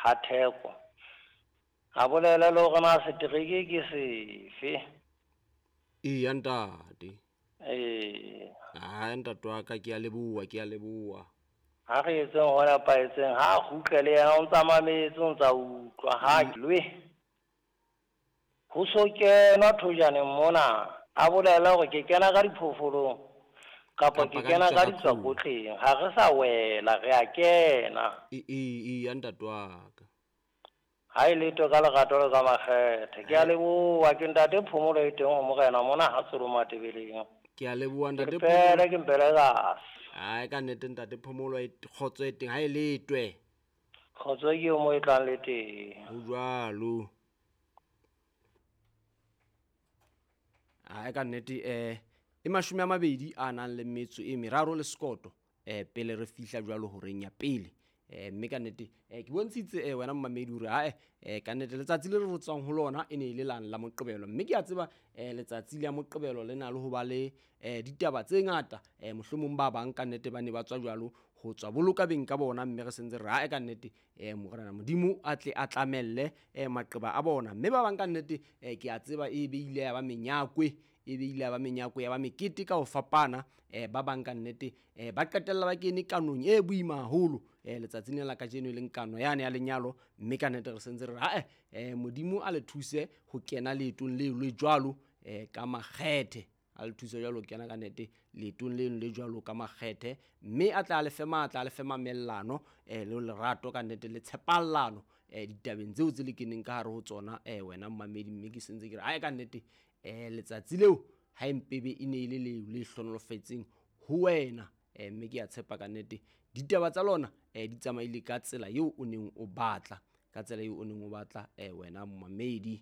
Ha Theko. A bolele le hore na setereke ke sefe. Eya ntate. Ee. Hai ntate wa ka, ke a leboha, ke a leboha. Ha re etseng ho nepahetseng, ha a kgutle le yena o ntsa mametse, o ntsa utlwa, ha lwe. Ho so kenwa thojaneng mona, a bolele hore ke kena ka diphoofolong kapa ke Kapa ka kena ka ditswakotleng. ditswakotleng. Ha re sa wela, re a kena. Eya ntate wa ka. Ha e letho ka lerato le ka makgethe. Ke a leboha, ke ntate Phomolo e teng ho morena mona ha Tsolo Matebeleng. Ke a leboha Ke ntate pele Phomolo. ke mpelekase. Hai ka nnete ntate Phomolo e kgotso e teng ha e letwe. Kgotso ke eo mo e tlang le teng. Ho jwalo. Hai ka nnete e 23 a nang le metso e meraro le sekoto pele re fihla jwalo horeng ya pele. Mme ka nnete ke bontshitse wena mmamedi hore hae ka nnete letsatsi le re tswang ho lona e ne e le lang la Moqebelo, mme ke a tseba letsatsi la Moqebelo le na le ho ba le ditaba tse ngata. Mohlomong ba bang ka nnete ba ne ba tswa jwalo ho tswa boloka beng ka bona, mme re sentse re hae ka nnete morena Modimo a tle a tlamelle maqeba a bona. Mme ba bang ka nnete ke a tseba e be ile ya ba menyakwe, e be ile ya ba menyako ya ba mekete ka ho fapana. Ba bang ka nnete ba qetella ba kene kanong e boima haholo letsatsing lena la kajeno, e leng kano yane ya lenyalo. Mme ka nnete re sentse re hae Modimo a le thuse ho kena leetong leo le jwalo ka makgethe, a le thuse jwalo ho kena ka nnete leetong leno le jwalo ka makgethe, mme a tla le fe matla, a le fe mamellano le lerato ka nnete le tshepallano ditabeng tseo tse le keneng ka hare ho tsona wena mmamedi. Mme ke sentse ke re hae ka nnete letsatsi leo ha empebe e ne e le leo le hlohonolofetseng ho wena. Mme ke a tshepa ka nnete ditaba tsa lona di tsamaile ka tsela eo o neng o batla, ka tsela eo o neng o batla wena mmamedi.